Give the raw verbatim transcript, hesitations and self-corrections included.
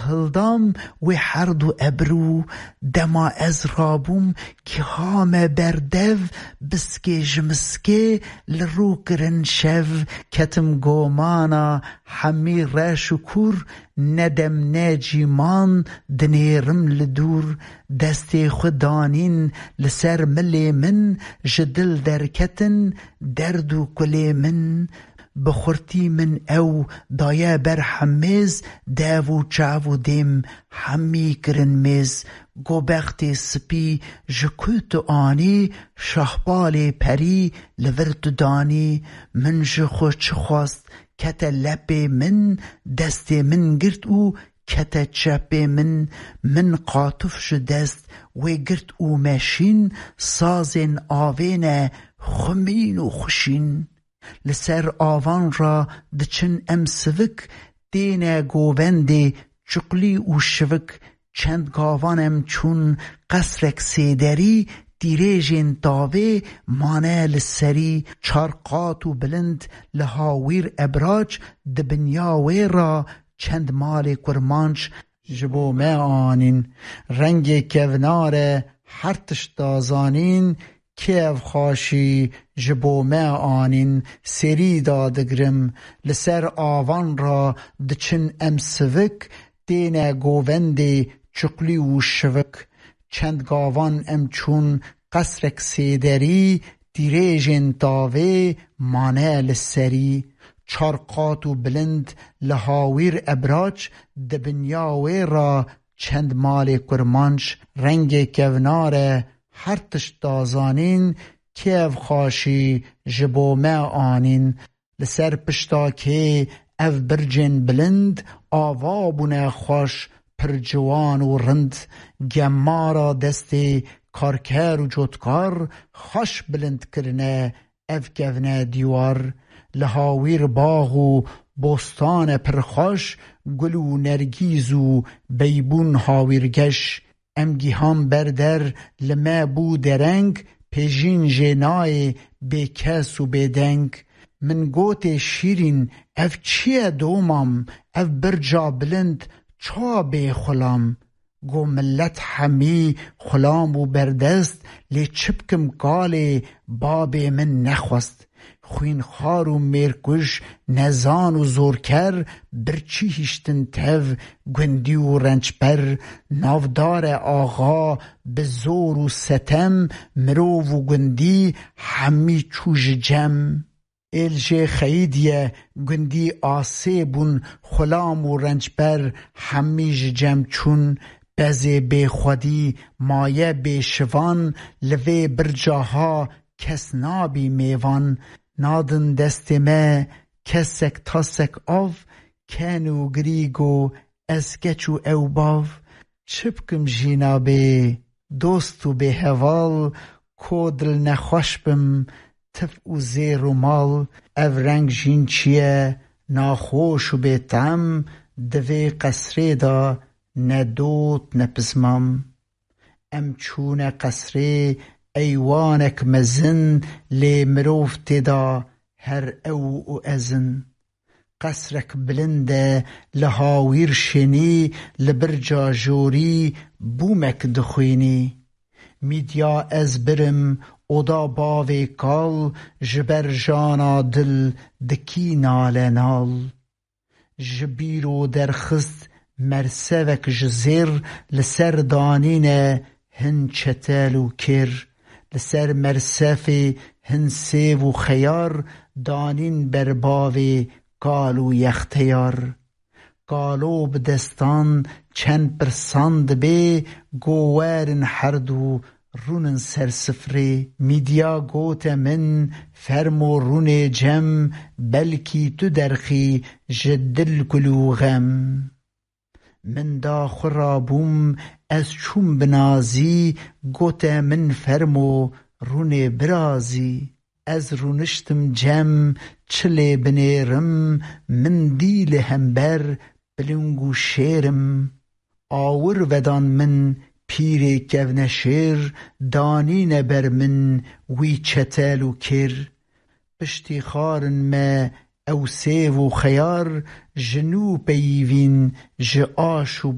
Hildam wê herd û ebrû, dema ez rabûm, gihame ber dev, biskê ji miskê li rû kirin şev. Ketim gomana hemî reş û kûr, ne dem ne cîman dinêrim li dûr. Destê xwe danîn li ser milê min, ji dil derketin derd û kulê min. Bi xurtî min ew daye ber hemêz, dev û çav û dêm hemî kirin mêz. Go bextê spî ji ku tu anî, şahbalê perî li vir tu danî. Min ji xwe çi xwest, kete lepê min, destê min girt û kete çepê min. Min qatuf ji dest wê girt û meşîn, sazên avê ne xumîn û xuşîn. Li ser avan re diçin em sivik, têne govendê çuqlî û şivik. Çend gavan em çûn qesrek sêderî, tîrêjên tavê mane li serî. Çar qat û bilind li hawîr ebrac, di binya wê re çend malê kurmanc ji bo me anîn. Rengê kevnar e her tişt da zanîn, kê ev xaşî ji bo me anîn, serî da digrim. Li ser avan re diçin em sivik, têne govendê çuqlî û şivik. Çend gavan em çûn qesrek sêderî, tîrêjên tavê mane li serî. Çar qat û bilind li hawîr ebrac, di binya wê re çend malê kurmanc. Rengê kevnar e her tişt da zanîn, kê ev xaşî ji bo me anîn. Li ser pişta kê ev bircên bilind, ava bûne xweş, pir ciwan û rind. Gemara destê karker û cotkar, xweş bilind kirine ev kevne dîwar. Li hawîr bax û bostan e pir xweş, gul û nergîz û beybûn hawîrgeş. Em gihan ber der, li me bû dereng, pêjîn jê nayê bêkes û bêdeng. Min gotê şîrîn, ev çi ye domam, ev birca bilind çawa bê xulam? Go milet hemî xulam û berdest, lê çi bikim kalê babê min nexwest. Xwînxwar û mêrkuj, nezan û zorker, birçî hiştin tev gundî û rençber. Navdar e axa bi zor û setem, mirov û gundî hemî çû ji cem. Êl jê xeyîdiye gundî asê bûn, xulam û rençber hemî ji cem çûn. Pezê bêxwedî maye bêşivan, li vê birca ha kes nabî mêvan. Nadin destê me kesek tasek av, ken û girî go ez keç û ew bav. Çi bikim jîna bê dost û bê heval, ko dilnexweş bim, tif û zêr û mal. Ev reng jîn çi ye naxweş û bêtem, di vê qesrê de ne dot ne pismam. Em çûne qesrê eywanek mezin, lê mirov tê de her ew û ez in. Qesrek bilind e li hawîr şênî, li birca jorî bûmek dixwînî. Mîdya ez birim oda bavê kal, ji ber jana dil dikî nale nal. Ji bîro derxist mersevek ji zêr, li ser danîne hin çetel û kêr. Li ser mersefê hin sêv û xeyar, danîn ber bavê kal û yexteyar. Kalo bi destan çend pirsan dibê, go werin herdû rûnin ser sifrê. Mîdya gote min, fermo rûnê cem, belkî tu derxî ji dil kul û xem. Min da xwe rabûm, ez çûm bi nazî, gote min fermo rûnê birazî. Ez rûniştim cem, çi lê binêrim, min dî li hember piling û şêrim. Awir vedan min pîrê kevneşêr, danîne ber min wî çetel û kêr. Piştî xarin me ew sêv û xeyar, ji nû peyivîn ji aş û